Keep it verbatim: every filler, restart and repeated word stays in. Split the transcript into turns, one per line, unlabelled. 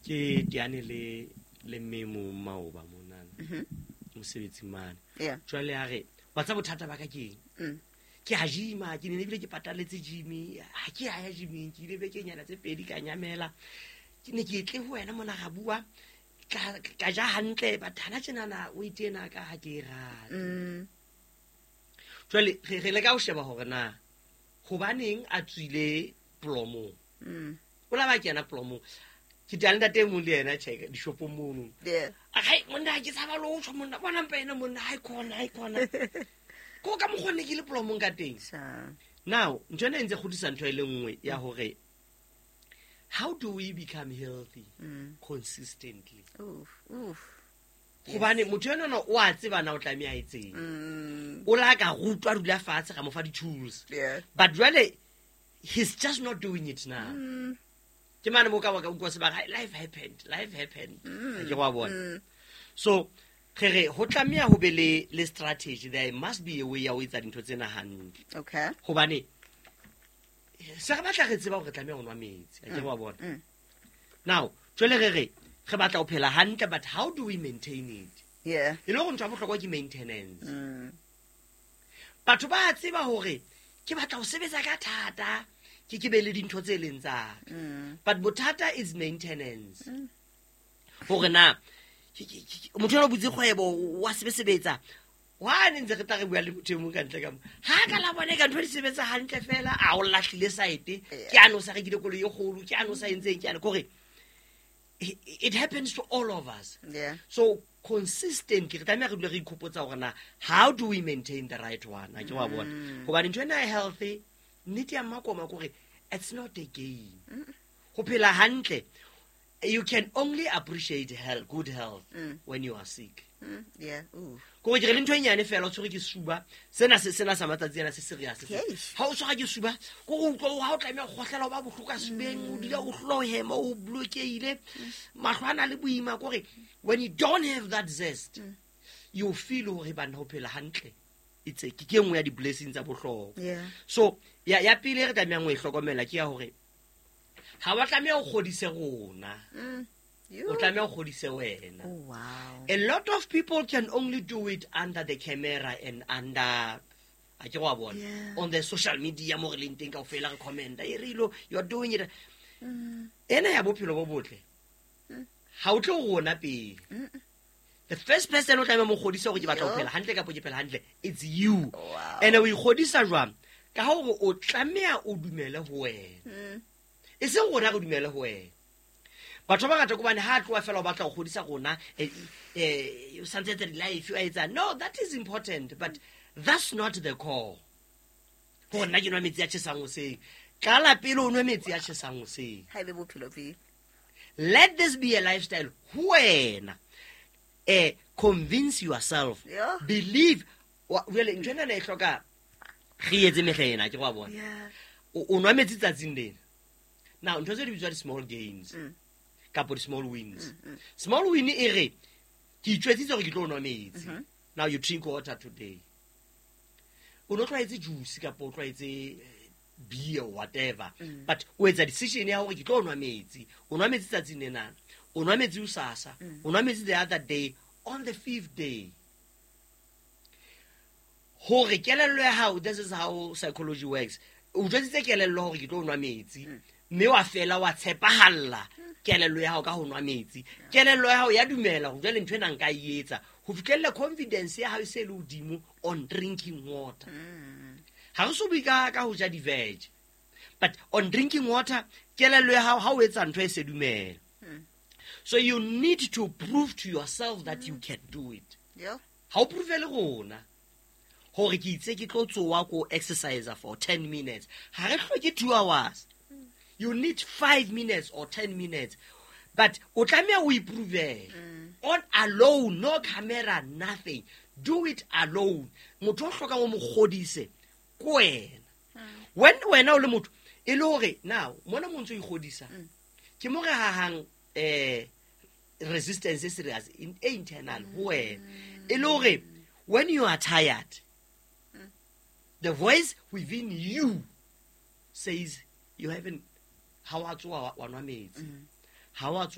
Ke teane le le mme mo maoba monana mosebetsing mane.
Yeah.
Jwale a re wa tseba bothata ba ka ke eng?
Mm.
Ke a gym-a, ke ne ebile ke pataletse gym, ha ke a ya gyming, ke ile bekenyana tse pedi ka nyamela. Ke ne ke tle ho wena mona ra bua, ka ka ja hantle, but hana tjenana weight ena ka ha ke e rate.
Mm.
Jwale re re leka ho sheba hore na hobaneng a tswile plomong.
Mm.
O la ba kena plomong. Ke teane le ntate e mong le yena tjhe dishopong mono.
Yeah.
Hai monna, ke tshaba le ho tjho monna, bona mpa ena monna, hai khona, hai khona. Ko ka mokgwa ne ke le plomong ka teng.
Sure.
Now, ntho ena e ntse kgodisa ntho e le nngwe ya hore how do we become healthy
Mm.
consistently?
Oof, oof.
Hobane motho enwana o a tseba na o tlameha a etseng.
Mm.
O la ka rutwa a dula fatshe ra mo fa di-tools.
Yeah.
But jwale he's just not doing it now.
Mm.
Ke mane mo ka wa ka utlwa sebaka, life happened, life happened.
Mm.
Ha ke wa bona.
Mm.
So re re ho tlameha ho be le le strategy, there must be a way ya ho etsa dintho tsena hantle.
Okay.
Hobane se re batla re tseba hore re tlameha ho nwa metsi, ha ke wa bona.
Mm.
Now, jwale re re re batla ho phela hantle, but how do we maintain it?
Yeah.
E le hore ntho ya bohlokwa ke maintenance.
Mm.
Batho ba tseba hore ke batla ho sebetsa ka thata, ke ke be le dintho tse leng tsa ka.
Mm.
But bothata is maintenance. Hore na ke- ke- ke- motho enwa o butse kgwebo wa sebesebetsa, wa ne ntse re tla re bua le motho e mong ka ntle ka mo, ha ka la bona ka ntho di sebetsa hantle fela, a o lahlile saete, ke ano sa rekile koloi e kgolo, ke ano sa entseng, ke ano kore it it happens to all of us.
Yeah.
So consistently re tlameha re dule re ikhopotsa hore na how do we maintain the right one, ha ke wa bona. Hobane ntho ena e healthy, nnete ya mmakoma ke hore it's not a game. Ho phela hantle, you can only appreciate health, good health
Mm.
when you are sick.
Mm. Yeah. Ooh.
Kore ke re le ntho e nyane fela, o tshwerwe ke suba, sena se sena sa matsatsi ana se serious se.
Eish.
Ha o tshwara ke suba, ko o utlwa ha o tlameha ho kgohlela, o ba bohloko ka subeng, o dula o hlola o hema, o blokehile, mahlo a na le boima. Kore when you don't have that zest, you feel hore banna ho phela hantle it's a, ke ke nngwe ya di-blessing tsa bohlokwa.
Yeah.
So ya ya pele e re tlamehang ho e hlokomela ke ya hore ha wa tlameha o kgodise rona,
Mm. You.
o tlameha o kgodise wena.
Oh wow.
A lot of people can only do it under the camera and under, a ke wa bona,
Yeah.
on the social media mo re leng teng kaofela re commenta e re ilo you are doing it.
Mm.
Ena ya bophelo bo botle ha o tle ho rona pele.
Mm.
The first person o tlameha mo kgodisa hore ke batla ho
Yo.
phela hantle kapa ke phela hantle, it's you.
Wow.
And o ikgodisa jwang? Ka hore o tlameha o dumele ho wena,
Mm.
e seng rona re dumele ho wena. Batho ba bangata ke hobane ha a tloha fela o batla ho kgodisa rona, eh, eh, o santse etsa di-life o a etsa. No, that is important, but that's not the core. Hore nna ke nwa metsi a tjhesang hoseng, qala pele o nwe metsi a tjhesang hoseng.
Ha ebe bophelo pele.
Let this be a lifestyle ho wena. Eh convince yourself.
Yeah.
Believe. Wa- jwale ntho ena e hloka re etse mehla ena, ke wa bona.
Yeah.
O o nwa metsi tsatsing lena. Now ntho tse di bitswa di-small gains
Mm.
kapa di-small wins. Small win e re ke itjwetsitse hore ke tlo nwa metsi. Now you drink water today. O no tlwaetse juice kapa o tlwaetse eh, beer or whatever, but o etsa decision ya hore ke tlo nwa metsi. O nwa metsi tsatsing lena, o nwa metsi hosasa, o nwa metsi the other day, on the fifth day, hore kelello ya hao, this is how psychology works, o jwetsitse kelello hore ke tlo nwa metsi, mme wa fela wa tshepahalla kelello ya hao ka ho nwa metsi. Kelello ya hao ya dumela hore jwale ntho ena nka e etsa ho fihlella. Confidence ya hao e se le hodimo on drinking water. Ha re so bue ka ka ho ja di-veg, but on drinking water, kelello ya hao ha o etsa ntho e se dumela. So you need to prove to yourself that you can do it.
Yeah.
Ha o prove le rona hore ke itse ke tlo tsoha ko exercise for ten minutes. Ha re hloke two hours, you need five minutes or ten minutes, but o tlameha o iprovele on alone, no camera, nothing. Do it alone. Motho o hlokang o mo kgodise ke wena. When wena o le motho e le hore now mona mo ntso o ikgodisa, ke mo re hahang eh resistance e serious in, e internal ho wena, e le hore when you are tired, the voice within you says you haven't, ha wa tsoha wa nwa metsi, ha wa tsoha.